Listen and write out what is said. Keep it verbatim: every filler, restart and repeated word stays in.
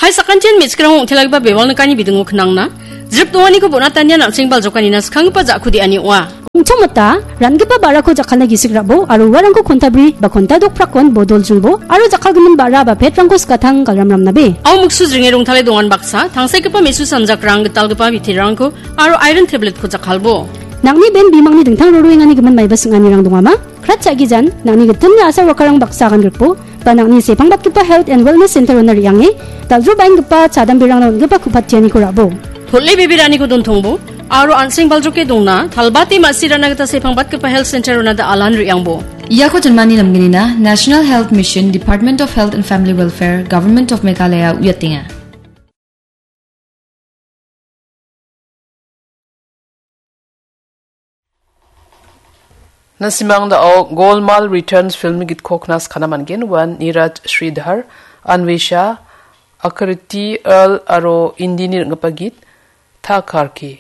Hai sakantian me·chikrang ong·telagipa bewal nikani bidingo knangna, jrip donganiko bonatanian an·seng baljokanina skanggipa ja·ku de·ani ong·a. Ong·chongmota, ran·gipa ba·rako jakkalna gisik ra·bo aro uarangko kontabri ba konta dokprakon bodol jingbo aro jakkalgimin ba·ra ba petrangko skatang galram ramnabe. Au muksu jringe rongtale dongan baksa, tangsekgipa me·su sanjakrang gitalgipa biterangko aro iron tabletko jakkalbo. Nang·ni ben bimangni dingtang roroengani gimin maiba sing·anirang dongama? Krat cha·gijan, nang·ni gitimni asar wakarang baksa agan grikbo, ba nang·ni sepangbatgipa Health and Wellness Center-ona re·ange, dal·drobaenggipa chadamberangna on·gipa ku·patianiko ra·bo. Hol·e beberaniko dontongbo, aro an·seng baljoke dongna, talbate ma·sirana gita sepangbatgipa Health Center-ona da·alan re·angbo. Iako jinmani namgnina National Health Mission, Department of Health and Family Welfare, Government of Meghalaya uiatenga. Na·simang da·o Golmaal Returns film gitko knaskana man·gen, uan Neeraj Sridhar, Anvesha, Akriti Earl aro Indini ring·gipa git, Tha Karki.